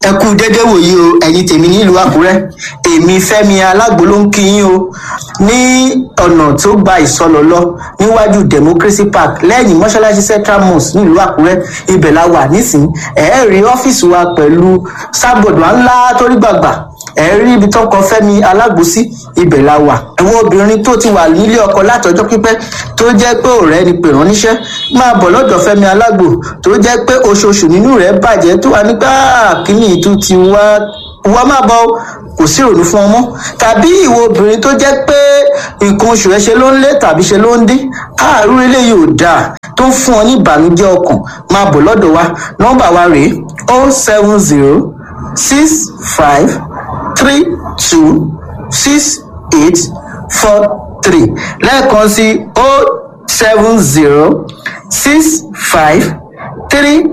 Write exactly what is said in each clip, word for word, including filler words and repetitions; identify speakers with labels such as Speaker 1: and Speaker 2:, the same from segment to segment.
Speaker 1: Ẹ kú dédé wòyí o, ẹ̀yin tèmi nílùú Àkúrẹ́. Èmi Fẹ́mi Alágbo ló ń kí yín o. Ní ọ̀nà tó gba Ìsọlọ̀ lọ, níwájú Democracy Park, lẹ́yìn mọ́ṣáláṣí Central Mosque nílùú Àkúrẹ́, ibẹ̀ la wà nísìnyí. Ẹ rí ọ́fíìsì wa pẹ̀lú sábọ̀dù ńlá torí gbàgbà. Ẹ rí ibi tó kọ Fẹ́mi Alágbo sí, ibẹ̀ la wà. Àwọn obìnrin tó ti wà nílé ọkọ látọjọ́ pípẹ́, tó jẹ́ pé ọ̀rẹ́ ni pè rán níṣẹ́, máa bọ̀ lọ́dọ̀ Fẹ́mi Alágbo. Tó jẹ́ pé oṣooṣù nínú rẹ̀ bàjẹ́, tó wà nígbà kíní ìtú ti wá wá, má bọ̀ o, kò sí ìrònú fún ọmọ. Tàbí ìwọ obìnrin tó jẹ́ pé nǹkan oṣù rẹ̀ ṣe ló ń lé tàbí ṣe ló ń dín, àárú eléyìí ò dáa, tó ń fún ọ ní ìbànújẹ́ ọkàn, máa bọ̀ lọ́dọ̀ wa. Nọ́mbà wa rèé: oh seven zero six five three two six eight four three. Lẹ́ẹ̀kan sí: oh seven zero six five three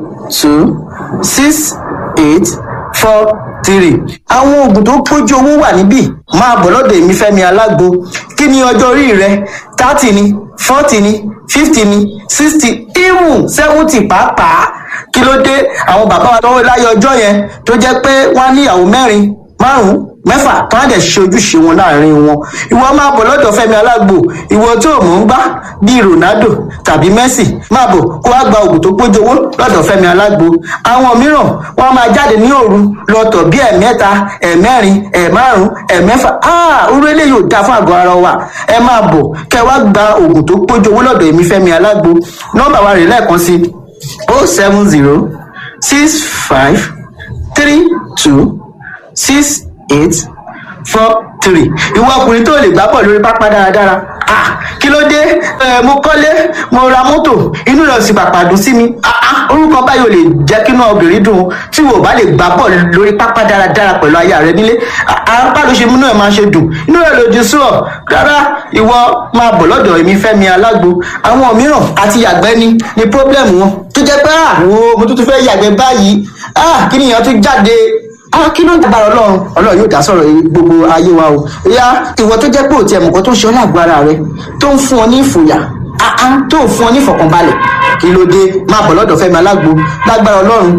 Speaker 1: two six eight four three. Àwọn oògùn tó pójú owó wà níbí. Máa bọ̀ lọ́dọ̀ èmi Fẹ́mi Alágbo. Kí ni ọjọ́ orí rẹ? Thirty ni, forty ni, fifty ni, sixty, even seventy pàápàá. Kí ló dé? Àwọn bàbá wa tọwọ́ láyé ọjọ́ yẹn, tó jẹ́ pé wọ́n á níyàwó mẹ́rin, márùn-ún, mẹ́fà, tó á dẹ̀ ṣe ojúṣe wọn láàrin wọn. Ìwọ máa bọ̀ lọ́dọ̀ Fẹ́mi Alágbo. Ìwọ tó mọ̀ ń gbá bíi Ronaldo tàbí Messi, máa bọ̀ kó wá gba oògùn tó pójú owó lọ́dọ̀ Fẹ́mi Alágbo. Àwọn mìíràn, wọ́n máa jáde ní òru lọ́tọ̀ bí ẹ̀mẹ́ta, ẹ̀mẹ́rin, ẹ̀márùn, ẹ̀mẹ́fà. Áà, orú eléyìí ò dáa fún àgọ́ ara wa. Ẹ máa bọ̀ kẹ́ wá gba oògùn tó pójú owó lọ́dọ̀ èmi Fẹ́mi Alágbo. Nọ́mbà wa rè lẹ́ẹ̀kan sí: oh seven zero six five three two six eight four three. Ìwọ ọkùnrin tó lè gbá bọ̀ lórí pápá dáradára, ah, kí ló dé? Ẹ mo kọ́lé, mo ra mọ́tò, inú rẹ̀ sì pàpà dùn sí mi. Ah ah, orúkọ báyìí ò lè jẹ́ kí inú obìnrin dùn. Tí wò bá lè gbá bọ̀ lórí pápá dáradára pẹ̀lú aya rẹ nílé, apá ló ṣe múnú ẹ̀ máa ṣe dùn, inú rẹ̀ lòdì sí ọ rárá. Ìwọ máa bọ̀ lọ́dọ̀ èmi Fẹ́mi Alágbo. Àwọn mìíràn, àti yàgbẹ́ ni ni problem wọn, tó jẹ́ pé ah, wo, mo tún tún fẹ́ yàgbẹ́ báyìí, ah, kí nìyẹn tún jáde? Ah, kí ló ń dábàá? Ọlọ́run, Ọlọ́run yóò dá sọ̀rọ̀ gbogbo ayé wa o. Ìyá, ìwọ tó jẹ́ pé òtí ẹ̀mùkọ́ tó ń ṣe ọ́ lágbo ara rẹ, tó ń fún ọ ní ìfòyà, ah ah, tó ń fún ọ ní ìfọ̀kànbalẹ̀, kí ló dé? Máa bọ̀ lọ́dọ̀ Fẹ́mi Alágbo. Lágbára Ọlọ́run,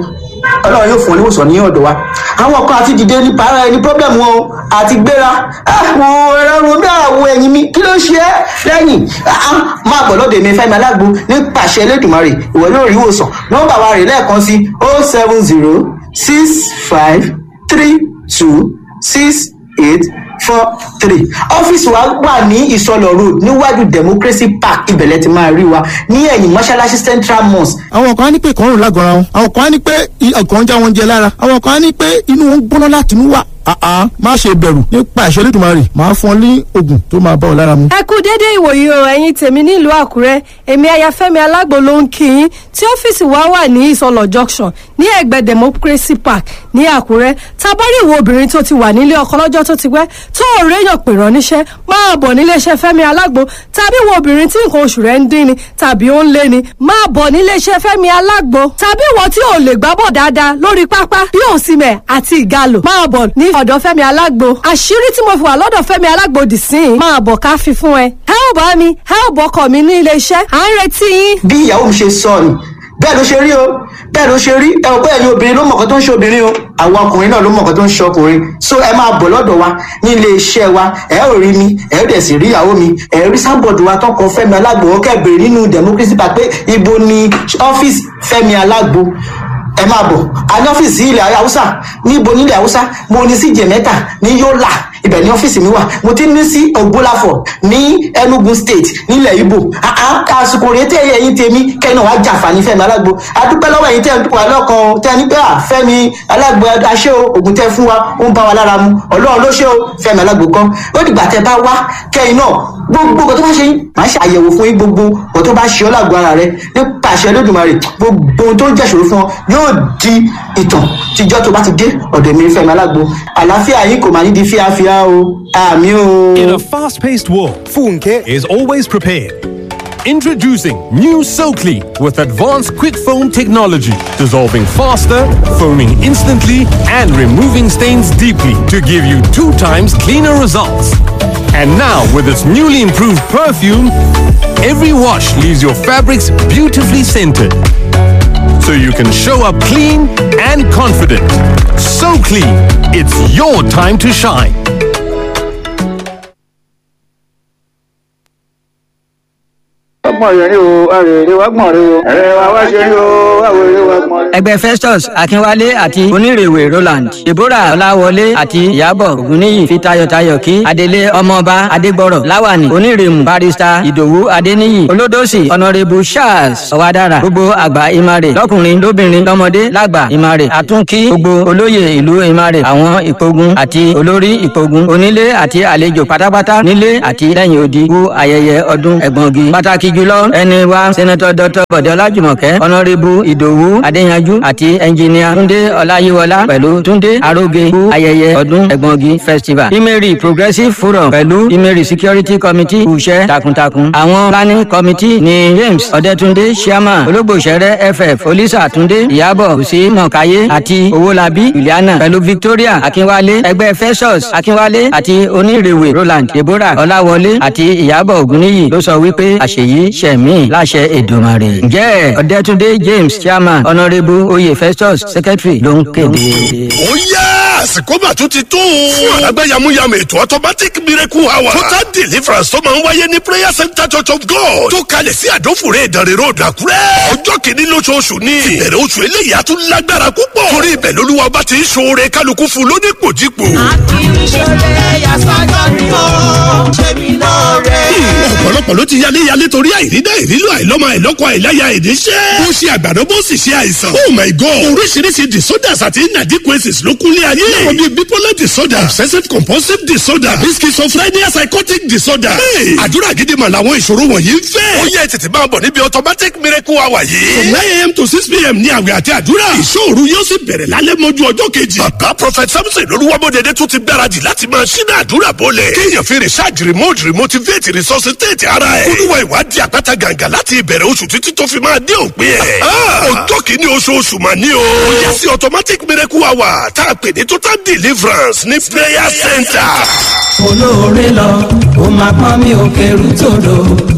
Speaker 1: Ọlọ́run yóò fún ọ níwòsàn ní ọ̀dọ̀ wa. Àwọn kan, àti dìde ní para ẹni problem wọn o, àti gbéra àwọn ẹ̀rọ mi, àwọn ẹ̀yìn mi, kí ló ṣe é lẹ́yìn? Máa bọ̀ lọ́dọ̀ èmi Fẹ́mi Alágbo. Nípasẹ̀ Elédùmarè, ìwọ yóò rí ìwòsàn. Nọ́mbà wa rè lẹ́ẹ̀kan sí: oh seven zero six five three two six eight four three. Ọ́fíìsì wa wà ní Ìsọlọ̀ Road, níwájú Democracy Park. Ibẹ̀lẹ̀ ti máa rí wa ní ẹ̀yìn mọ́ṣáláṣí Central Mosque.
Speaker 2: Àwọn kan á ní pé ìkọrùn lágọ̀ọ́ra wọn, àwọn kan á ní pé ọkàn ń já wọn jẹ lára, àwọn kan á ní pé inú wọn ń gbóná láti inú wà. Àá, má ṣe bẹ̀rù. Nípa ìṣe Olódùmarè, máa fún ọ ní oògùn tó máa bá ọ lára mu.
Speaker 3: Ẹ kú dédé ìwòyí o, ẹ̀yin tèmi nílùú Àkúrẹ́. Èmi Ayafẹ́mi Alágbo ló ń kí yín, tí ọ́fíìsì wa wà ní Ìsọlọ̀ Junction, ní ẹ̀gbẹ́ Democracy Park ní Àkúrẹ́. Tabari ìwọ obìnrin tó ti wà nílé ọkọ lọ́jọ́ tó ti pẹ́, tó ò réyàn pè rán níṣẹ́, máa bọ̀ níléeṣẹ́ Fẹ́mi Alágbo. Tàbí ìwọ obìnrin tí nǹkan oṣù rẹ̀ ń dín ni tàbí ó ń lé ni, máa bọ̀ níléeṣẹ́ Fẹ́mi Alágbo. Tàbí ìwọ tí ò lè gbábọ̀ dáadáa lórí pápá bí Òsìmẹ̀ àti Ìgalò, máa bọ̀ ní ọ̀dọ̀ Fẹ́mi Alágbo. Àṣírí tí mo fi wà lọ́dọ̀ Fẹ́mi Alágbo dì sí i, máa bọ̀ ká fi fún ẹ. Ẹ ò bá mi, ẹ ò bọ́kọ̀ mi ní iléeṣẹ́, à ń retí yín.
Speaker 1: Bí ìyàwó mi ṣe sọ ni, bẹ́ẹ̀ ló ṣe rí o, bẹ́ẹ̀ ló ṣe rí. Ẹ ò bẹ́ẹ̀ ni, obìnrin ló mọ̀kàn tó ń ṣe obìnrin o, àwọn ọkùnrin náà ló mọ̀kàn tó ń ṣe ọkùnrin. So ẹ máa bọ̀ lọ́dọ̀ wa ní ilé iṣẹ́ wa. Ẹ ò rí mi, ẹ ò dẹ̀ sì rí ìyàwó mi. Ẹ rí sábọ̀dù wa tọkọ Fẹ́mi Alágbo. Ó kẹ́ bèrè nínú Democracy Park pé ibo ni ọ́fíìsì Fẹ́mi Alágbo. Ẹ máa bọ̀. A ní ọ́fíìsì ilẹ̀ Haúsá. Níbo nílẹ̀ Haúsá? Mo ní sí Jẹ̀mẹ́ta ní Yólà, ibẹ̀ ní ọ́fíìsì mi wà. Mo ti ní sí Ògbólàfọ̀ ní Enugu State nílẹ̀ Ibo. Àsìkò rèé tẹ́ ẹ̀yin tèmi kẹ́yìn náà wá jàǹfààní Fẹ́mi Alágbo. Adúpẹ́ lọ́wọ́ ẹ̀yin tẹ́ ẹ̀ wà lọ́kàn tẹ́ ní pé à Fẹ́mi Alágbo aṣẹ́ o, ògùn tẹ́ fún wa ó ń bá wa lára mu. Ọlọ́run ló ṣe o, Fẹ́mi Alágbo kan. Ó dìgbà tẹ́ bá wá kẹ́yìn náà, gbogbo nǹkan tó bá ṣe yín, màá ṣe àyẹ̀wò fún yín. Gbogbo nǹkan tó bá ṣe ọ́ lágbo ara rẹ, nípa àṣẹ Olódùmarè, gbogbo ohun tó ń jẹ́ṣòro fún ọ yóò di ìtàn tíjọ́ tó bá ti dé ọ̀dọ̀ mi Fẹ́mi Alágbo. Àlàáfíà yín kò máa ní di fíafíà o. Àmín o.
Speaker 4: In a fast-paced world, Funke is always prepared. Introducing new SoClean with advanced quick foam technology, dissolving faster, foaming instantly, and removing stains deeply to give you two times cleaner results. And now, with its newly improved perfume, every wash leaves your fabrics beautifully scented. So you can show up clean and confident. So clean, it's your time to shine.
Speaker 5: Ọgbọ̀n rẹ̀ rí o, àrèrè wa gbọ̀n rí o, ẹ̀rẹ̀ wa wá ṣe rí o, àwòrán wa gbọ̀n rí.
Speaker 6: Ẹgbẹ́ Festus Akínwálé àti Onírèwé Roland, Deborah Ọláwọlé àti Ìyábọ̀ Ògúnníyì fi tayọ̀tayọ̀ kí Adelé Ọmọọba Adégbọ̀rọ̀ Láwàní Onírèmù, Barrister Ìdòwú Adéníyì Olódòsì, Honourable Charles Ọ̀wádára, gbogbo àgbà Ìmàrè lọ́kùnrin lóbìnrin lọ́mọdé lágbà Ìmàrè, àtúnkí gbogbo olóyè ìlú Ìmàrè, àwọn ìpogun àti olórí ìpogun, onílé àti àlejò pátápátá nílé àti lẹ́yìn odi kú ayẹyẹ ọdún ẹ̀gbọ́ngi. Pàtàkì jùlọ ẹni wa Senator Doctor Bọ̀dé Ọlájùmọ̀kẹ́, Honourable Ìdòwú Adéyanjú àti Ẹnjìníà Túndé Ọláyíwọlá pẹ̀lú Túndé Aróge kú ayẹyẹ ọdún ẹ̀gbọ́ngi festival. Imeri Progressive Forum pẹ̀lú Imeri Security Committee kú iṣẹ́ takuntakun. Àwọn planning committee ni James Ọ̀dẹ́túndé Chairman, Ológbòṣẹ́rẹ́ F F, Olisa Túndé, Ìyábọ̀ Òsì Mọ̀káyé àti Owólabí Juliana pẹ̀lú Victoria Akínwálé, ẹgbẹ́ Festus Akínwálé àti Onírèwé Roland, Deborah Ọláwọlé àti Ìyábọ̀ Ògúnníyì ló sọ wípé àṣeyí ṣẹ̀mí láṣẹ Èdùmàrè. Ǹjẹ́ Ọ̀dẹ́túndé James Chairman, Honourable Oyè Festus Secretary ló ń kéde.
Speaker 7: Ó yá, àsìkò mà tún ti tó o. Fún àlágbá yamuyamu ètò automatic miracle hour, total deliverance tó máa ń wáyé ní Prayer Center Church of God tó kalẹ̀ sí Àdófòrè, Ìdànrè Road, Àkúrẹ́. Ọjọ́ kìíní lóṣooṣù ni ìbẹ̀rẹ̀ oṣù eléyìí á tún lágbára púpọ̀, torí ibẹ̀ lolúwa bá ti ń ṣoore kálukú fún lónípòjípò. Ọ̀pọ̀lọpọ̀ ló ti yálé yálé torí àìrídá, ìrílò, àìlọ́mọ, àìlọ́kọ, àìláya, ìníṣẹ́. Bó ṣe àgbàdo, bó sì ṣe àìsàn. Oh my God! Oríṣiríṣi disorders àti inadequacies ló kúnlé ayé. Láwọn bíi bipolar disorder, obsessive compulsive disorder, tàbí schizophrenia, psychotic disorder. Hey! Àdúrà gidi mà làwọn ìṣòro wọ̀nyí ń fẹ́. Ó yẹ tètè máa bọ̀ níbi automatic miracle hour yìí. From nine a m to six p m ní àwẹ̀ àti àdúrà. Ìṣòro yóò sì bẹ̀rẹ̀ lálẹ́ mọ́jú ọjọ́ kejì. Bàbá Prophet Samson Olúwamọ́dẹdẹ tún ti gbáradì láti máa ṣínà àdúrà bọ́lẹ̀. Kéèyàn fi recharge, remote, remotivate, resuscitate ara ẹ̀. Olúwa ìwádìí àpáta gàǹgà láti ìbẹ̀rẹ̀ oṣù títí tó fi máa dé òpin ẹ̀. Ọjọ́ kìíní oṣooṣù mà ní o. Ó yá sí automatic miracle hour tá a pè ní total deliverance ní prayer center.
Speaker 8: Olóore lọ, ó máa pọ́n mi ò kẹrù tòdò,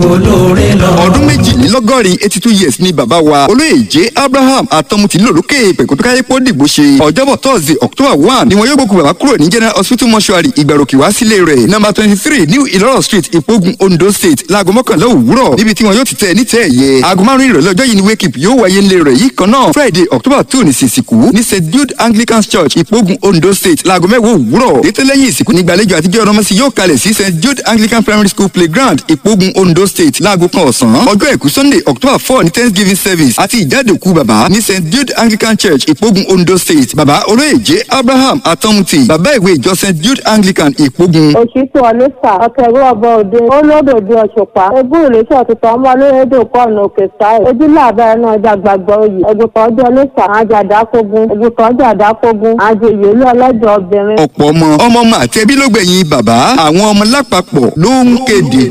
Speaker 8: olóore lọ.
Speaker 9: Ọdún méjìlélọ́gọ́rin, eighty two years ni bàbá wa olóyè J Abraham Atọ́mutì lòlókè pẹ̀kútúkáyépọ̀ dìgbò ṣe. Ọjọ́bọ̀ Thursday, October one ni wọn yóò gbókù bàbá kúrò ní General Hospital mortuary, Ìgbàròkè, wá sílé rẹ̀, number twenty three, New Ìlọ́rọ̀ Street, Ìpogun, Ondo State, láago mọ́kànlá òwúrọ̀, níbi tí wọn yóò ti tẹ̀ ní tẹ̀ ẹ̀yẹ. Aago márùn-ún ìrọ̀lẹ́ ọjọ́ yìí ni wake up yóò wáyé ńlẹ̀ rẹ̀ yìí kan náà. Friday, October two ní ìsìnkú ní Saint Jude Anglican Church, Ìpogun, Ondo State, láago mẹ́wàá òwúrọ̀. Ètò lẹ́yìn ìsìnkú nígbàlejò àtijọ́ ọ̀rọ̀mọ́sí yóò kalẹ̀ sí Saint Jude Anglican Primary School playground, Ìpogun, Ondo State, láago kan ọ̀sán. Ọjọ́ àìkú Sunday, October four ní thanksgiving service àti ìjáde òkú bàbá ní Saint Jude Anglican Church, Ìpogun, Ondo State. Bàbá olóyè J Abraham Atọ́mutì, bàbá ìwé ìjọ Saint Jude Anglican, Ìpogun.
Speaker 10: Òṣìṣẹ́ ọlẹ́sà ọ̀kẹ́rù ọba òde olódòdó ọ̀ṣùpá ogún ìrètí ọ̀tútù ọmọ olóyèdè kọ́ọ̀nù òkè sáì ojúlé àbá ẹnu ọjà gbàgbọ́ oyè ẹ̀gùntàn ọjọ́ ọlẹ́sà àjàdákógún ẹ̀gùntàn ọjọ́ àdákógún àjòyè ilé ọlọ́jọ́ obìnrin.
Speaker 9: Ọ̀pọ̀ ọmọ ọmọ ọmọ àti ẹbí ló gbẹ̀yìn bàbá. Àwọn ọmọ lápapọ̀ ló ń kéde.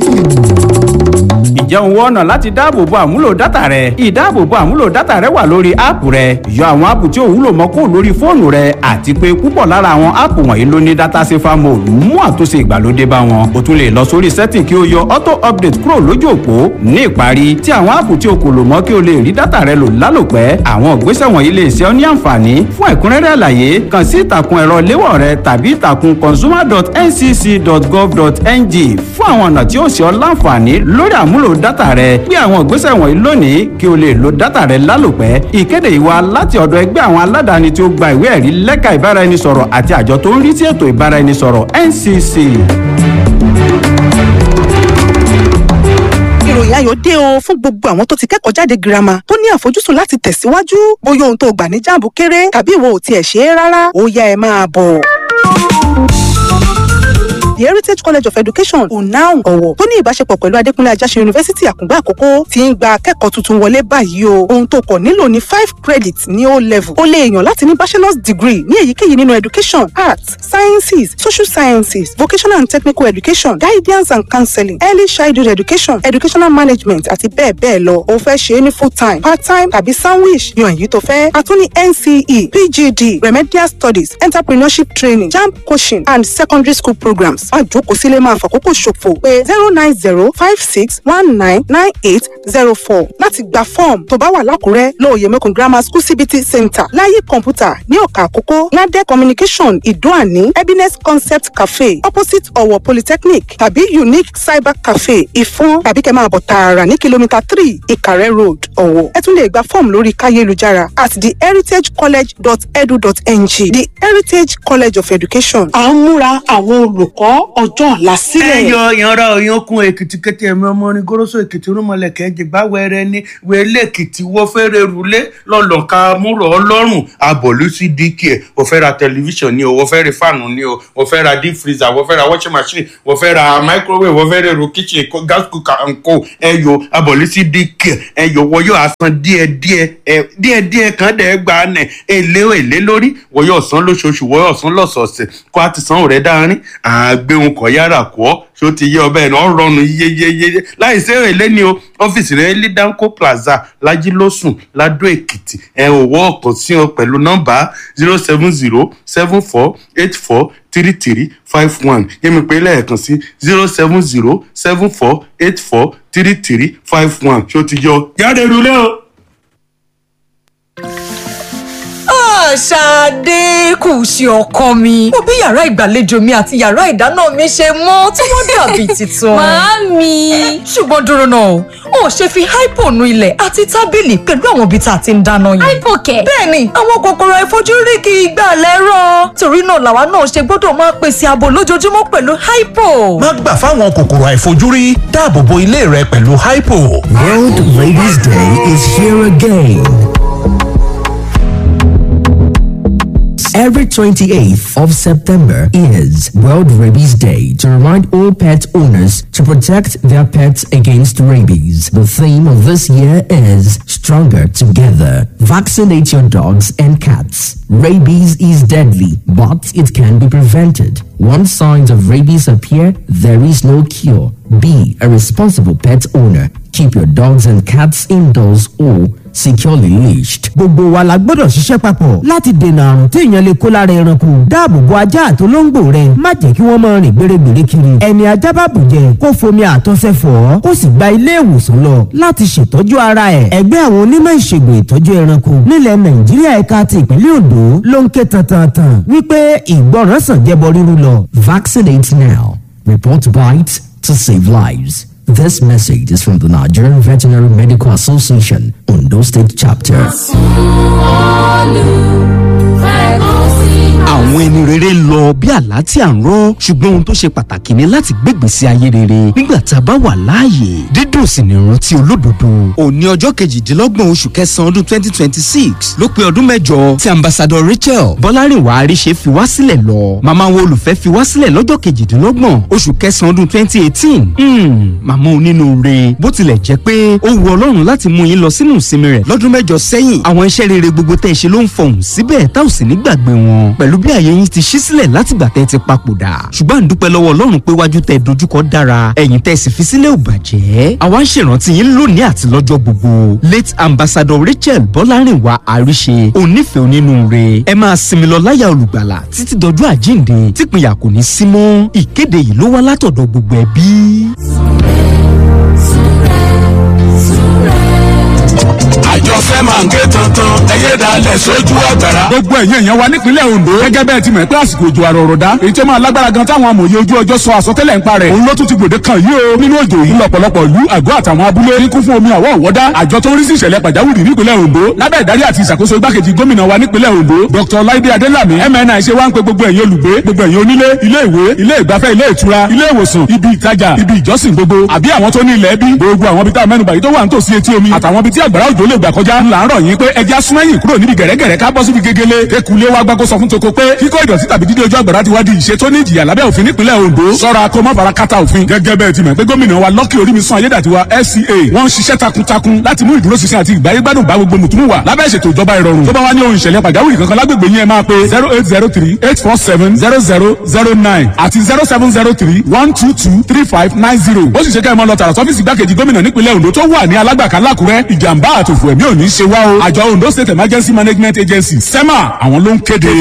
Speaker 11: Ǹjẹ́ òun wọ́n ọ̀nà láti dáàbòbo àmúlò dátà rẹ? Ìdáàbòbo àmúlò dátà rẹ wà lórí app rẹ. Yọ àwọn app tí ò wúlò mọ́ kúrò lórí fóònù rẹ, àti pé púpọ̀ lára àwọn app wọ̀nyí ló ní data safer mode mú àtúnṣe ìgbàlódé bá wọn. O tún lè lọ sórí setting kí o yọ auto update kúrò lójú òpó. Ní ìparí, tí àwọn app tí o kò lò mọ́ kí o lè rí dátà rẹ lò lálòpẹ́. Àwọn ìgbésẹ̀ wọ̀nyí lè ṣe ọ́ ní àǹfààní. Fún ẹ̀kúnrẹ́rẹ́ àlàyé, kàn sí ìtàkùn ẹ̀rọ léwọ̀ rẹ tàbí ìtàkùn consumer dot N C C dot gov dot N G fún àwọn ọ̀nà tí ó ṣe ọ́ láǹfààní lórí àmúlò dátà rẹ. Gbé àwọn ìgbésẹ̀ wọ̀nyí lónìí kí o lè lo dátà rẹ lálòpẹ́. Ìkéde ìwà láti ọ̀dọ̀ ẹgbẹ́ àwọn aládàáni tí ó gba ìwé ẹ̀rí lẹ́ka ìbáraẹnisọ̀rọ̀ àti àjọ tó ń rí sí ètò ìbáraẹnisọ̀rọ̀, N C C.
Speaker 12: Ìròyìn ayọ̀ dé o fún gbogbo àwọn tó ti kẹ́kọ̀ọ́ jáde girama tó ní àfojúsùn láti tẹ̀síwájú. Bóyá ohun tó gbà ní JAMB kéré tàbí ìwọ ò tiẹ̀ ṣe é rárá, ó yá, ẹ máa bọ̀. The Heritage College of Education, UNAUN Ọ̀wọ̀, tó ní ìbáṣepọ̀ pẹ̀lú Adékúnlé Ajáṣin University Àkùngbá Àkókó, ti ń gba akẹ́kọ̀ọ́ tuntun wọlé báyìí o. Ohun tó kọ̀ nílò ní five credits ní O level. O lè yàn láti ní bachelor's degree ní èyíkéyìí nínú education, arts, sciences, social sciences, vocational and technical education, guidance and counseling, early childhood education, educational management àti bẹ́ẹ̀ bẹ́ẹ̀ lọ. O fẹ́ ṣe é ní full time, part time tàbí sandwich, yan èyí tó fẹ́. A tún ní N C E, P G D, remedial studies, entrepreneurship training, JAMB coaching and secondary school programs. Má jókòó sílé máa fàkókò ṣòfò. Pé zero nine zero five six one nine nine eight zero four láti gba fọ́ọ̀mù. Tó bá wà lákùrẹ́, lóòyè Mẹ́kùn Grammar School C B T Center, Láyé Kọ̀ǹpútà ní Ọ̀kà Àkókó, Ládẹ́ Communication Ìdóàní, Happiness Concept Cafe opposite Ọ̀wọ̀ Polytechnic tàbí Unique Cyber Cafe Ìfọ́n, tàbí kẹ́ máa bọ̀ tààrà ní kìlómítà three Ìkàrẹ́ Road, Ọ̀wọ̀. Ẹ tún lè gba fọ́ọ̀mù lórí káyélujára at the heritage college dot edu dot n g. The Heritage College of Education.
Speaker 13: À ń múra àwọn olùkọ́ ọjọ́ ọ̀la sílẹ̀.
Speaker 14: Ẹ yọ ìyanra òyìnkùn Èkìtì kété, ẹ̀mí ọmọ orin goroso Èkìtì, rúmọlẹ̀kẹ́ jìgbá wẹrẹ ní wẹlé Èkìtì wọ́n fẹ́rẹ̀ rúlé lọ́lọ́ka múrò ọlọ́run abọ̀lú sí D K. Wọ́n fẹ́ ra tẹlifíṣàn ni o, wọ́n fẹ́ ra fáànù ni o, wọ́n fẹ́ ra deep freezer, wọ́n fẹ́ ra washing machine, wọ́n fẹ́ ra microwave, wọ́n fẹ́ ra èrò kitchen, gas cooker and co. Ẹ yọ abọ̀lú sí D K. Ẹ yọ wọ́n yóò san díẹ̀ díẹ̀ ẹ díẹ̀ díẹ̀ kan dẹ̀ gba nẹ̀ èlé èlé lórí. Wọ́n yóò san lóṣooṣù, wọ́n yóò san lọ́sọ̀ọ̀sẹ̀ kó a ti san rẹ̀ dáárín àgbéhùn kọ̀ yára kọ́. Ṣó ti yé ọbẹ̀ náà rọrùn yeyeyeye láì sí èlé ni o. Ọ́fíìsì rẹ̀ ní Danco Plaza, Lajilósùn, Ladó Èkìtì. Ẹ ò wọ́ ọ̀kan sí ọ pẹ̀lú nọ́mbà zero seven zero seven four eight four three three five one. Yẹ́mi pé lẹ́ẹ̀kan sí zero seven zero seven four eight four three three five one. Ṣó ti yọ jáde rúlé o.
Speaker 15: Ṣadé kù sí, ọkọ mi. Mo bí yàrá ìgbàlejò mi àti yàrá ìdáná mi ṣe mọ́ tí wọ́n dàbí tuntun.
Speaker 16: Màámi.
Speaker 15: Ṣùgbọ́n dúró náà o, ò ṣe fi Hypo nu ilẹ̀ àti tábìlì pẹ̀lú àwọn ibi tá a ti ń dáná yìí?
Speaker 16: Hypo kẹ̀?
Speaker 15: Bẹ́ẹ̀ni, àwọn kòkòrò àìfojúrí kì í gbà lẹ́rọ̀. Torí náà làwa náà ṣe gbọ́dọ̀ máa pèsè ààbò lójoojúmọ́ pẹ̀lú Hypo.
Speaker 17: Má gbà fáwọn kòkòrò àìfojúrí, dáàbò bo ilé rẹ pẹ̀lú Hypo.
Speaker 18: World Rabies Day is here again. Every twenty-eighth of September is World Rabies Day to remind all pet owners to protect their pets against rabies. The theme of this year is Stronger Together. Vaccinate your dogs and cats. Rabies is deadly, but it can be prevented. Once signs of rabies appear, there is no cure. Be a responsible pet owner. Keep your dogs and cats indoors or securely leashed.
Speaker 19: Gbogbo wa la gbọ́dọ̀ ṣiṣẹ́ papọ̀ láti dènà àrùn tí èèyàn lè kó lára ẹranko. Dáàbò bo ajá àtolóńgbò rẹ, má jẹ́ kí wọ́n máa rìn gbèrègbèrè kiri. Ẹni ajá bá bùjẹ, kó fomi àtọ̀sẹ̀ fọ̀ ọ́, kó sì gba ilé ìwòsàn lọ láti ṣètọ́jú ara ẹ̀. Ẹgbẹ́ àwọn onímọ̀ ìṣègùn ìtọ́jú ẹranko nílẹ̀ Nàìjíríà, ẹ̀ka ti ìpínlẹ̀ Ondo ló ń ké tantantan wípé ìgbọràn sàn jẹbọ rírú lọ.
Speaker 18: Vaccinate now. Report bites to save lives. This message is from the Nigerian Veterinary Medical Association, Ondo State Chapter.
Speaker 20: Àwọn ẹni rere ń lọ bí àlá tí à ń rọ, ṣùgbọ́n ohun tó ṣe pàtàkì ni láti gbégbèsè ayé rere nígbà tá a bá wà láàyè. Dídùn sì ni ìrántí olódodo. Òní ọjọ́ kejìdínlọ́gbọ̀n oṣù kẹsàn-án ọdún twenty twenty six ló pé ọdún mẹ́jọ tí Ambassador Rachel Bọ́lárìnwá Àríṣe fi wá sílẹ̀ lọ. Màmá wo olùfẹ́ fi wá sílẹ̀ lọ́jọ́ kejìdínlọ́gbọ̀n oṣù kẹsàn-án ọdún twenty eighteen. Màmá onínúure, bó tilẹ̀ jẹ́ pé ó wu Ọlọ́run láti mú yín lọ sínú ìsinmi rẹ̀ lọ́dún mẹ́jọ sẹ́yìn, àwọn iṣẹ́ rere gbogbo tẹ́ ẹ ṣe ló ń fọhùn síbẹ̀ tá ò sì ní gbàgbé wọn, pẹ̀lú bí àyè yín ti ṣí sílẹ̀ látìgbà tẹ́ ti papòdà. Ṣùgbọ́n à ń dúpẹ́ lọ́wọ́ Ọlọ́run pé wájú tẹ́ dojúkọ dára, ẹ̀yìn tẹ́ sì fi sílẹ̀ ò bàjẹ́. Àwa ń ṣèrántí yín lónìí àti lọ́jọ́ gbogbo. Late Ambassador Rachel Bọ́lárìnwá Àríṣe, onífẹ̀ẹ́ onínúure, ẹ máa sinmi lọ láyà olùgbàlà títí dọjọ́ àjíǹde típìnyà kò ní sí mọ́. Ìkéde yìí ló wá látọ̀dọ̀ gbogbo ẹbí.
Speaker 21: Àjọṣe máa ń ké tuntun, ẹyẹ dalẹ̀ sójú ọ̀gbẹ̀rà.
Speaker 22: Gbogbo ẹ̀yin èèyàn wa nípínlẹ̀ Ondo, gẹ́gẹ́ bẹ́ẹ̀ ti mọ̀ pé àsìkò òjò àrọ̀rọ̀dá èyí tó máa lágbára gan táwọn amòye ojú ọjọ́ sọ àsọtẹ́lẹ̀ ń parẹ̀, òun ló tún ti gbòde kan yìí o. Nínú òjò yìí, lọ́pọ̀lọpọ̀ ìlú, àgọ́ àtàwọn abúlé ní kún fún omi àwọ̀ ọ̀wọ́dá. Àjọ tó ń rí sí ìṣẹ̀lẹ̀ pàjáwìrì nípínlẹ̀ Ondo lábẹ́ ìdarí àti ìṣàkóso igbákejì gómìnà wa nípínlẹ̀ Ondo, Doctor Ọláìdé Adélàmí M N I, ṣe wá ń pe gbogbo ẹ̀yin olùgbé, gbogbo ẹ̀yin onílé, ilé ìwé, ilé ìgbafẹ́, ilé ìtura, ilé ìwòsàn, ibi ìtajà, ibi ìjọsìn gbogbo, àbí àwọn tó ní ilẹ̀ ẹbí, gbogbo àwọn ibi tá a mẹ́nubà yìí tó wà nítòsí etí omi àtàwọn ibi tí àgbàrá òjò lè gbà kọjá, ńlá ń rọ̀ yín pé ẹja súnmẹ́yìn kúrò níbi gẹ̀rẹ́gẹ̀rẹ́, ká bọ́ síbi gegele. Ekulé wa gbàgbọ́ sọ fún toko pé kíkọ́ ìdọ̀tí tàbí dídí ojú àgbàrá ti wá di ìṣe tó ní ìjìyà lábẹ́ òfin nípínlẹ̀ Ondo. Sọ́ra kó má fara kátà òfin. Gẹ́gẹ́ bẹ́ẹ̀ ti mọ̀ pé gómìnà wa Lucky Orímisun Ayédàtiwa F C A, wọ́n ń ṣiṣẹ́ takuntakun láti mú ìdúróṣinṣin àti ìgbáyégbádùn bá gbogbo mùtúmù wà lábẹ́ ìṣètò ìjọba ìrọ̀rùn. Tó bá wá ní ohun ìṣẹ̀lẹ̀ pàjáwìrì kankan lágbègbè yín, ẹ máa pe zero eight zero three eight four seven zero zero zero nine àti zero seven zero three one two two three five nine zero. Ó sì ṣe kẹ́ ẹ mọ́ lọ tààrà sọ́fíìsì igbákejì gómìnà nípínlẹ̀ Ondo tó wà ní Alágbàká lákùrẹ́. Ìjàmbá àtòfò ẹ̀mí ò ní ṣe wá o. Àjọ Ondo State Emergency Management Agency, SEMA, àwọn ló ń kéde.